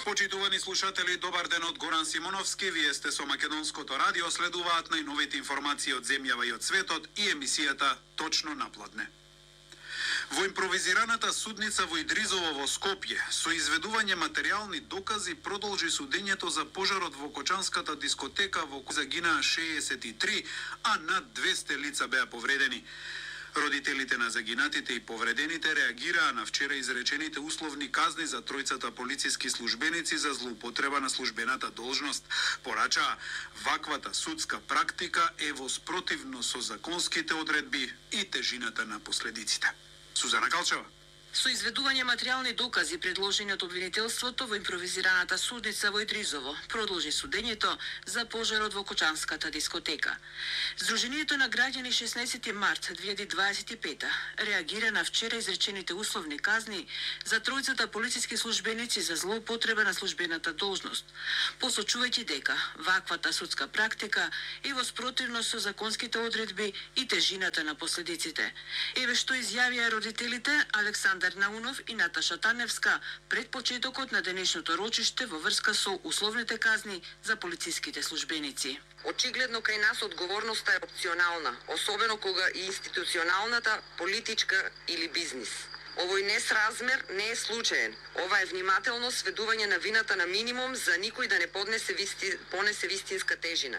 Почитувани слушатели, добар ден од Горан Симоновски. Вие сте со Македонското радио, следуваат најновите информации од земјава и од светот и емисијата Точно напладне. Во импровизираната судница во Идризово во Скопје, со изведување материјални докази продолжи судењето за пожарот во Кочанската дискотека во која загинаа 63, а над 200 лица беа повредени. Родителите на загинатите и повредените реагираа на вчера изречените условни казни за тројцата полициски службеници за злоупотреба на службената должност. Порачаа, ваквата судска практика е во спротивно со законските одредби и тежината на последиците. Сузана Калчева. Со изведување материјални докази предложени од обвинителството во импровизираната судница во Идризово, продолжи судењето за пожарот во Кочанската дискотека. Сдруженијето на граѓани 16 март 2025 реагира на вчера изречените условни казни за тројцата полициски службеници за злоупотреба на службената должност, посочувајќи дека ваквата судска практика е во спротивност со законските одредби и тежината на последиците. Еве што изјавија родителите Александар Наунов и Наташа Таневска пред почетокот на денешното рочиште во врска со условните казни за полициските службеници. Очигледно кај нас одговорноста е опционална, особено кога и институционалната, политичка или бизнис. Овој несразмер не е случаен. Ова е внимателно сведување на вината на минимум за никој да не понесе вистинска тежина.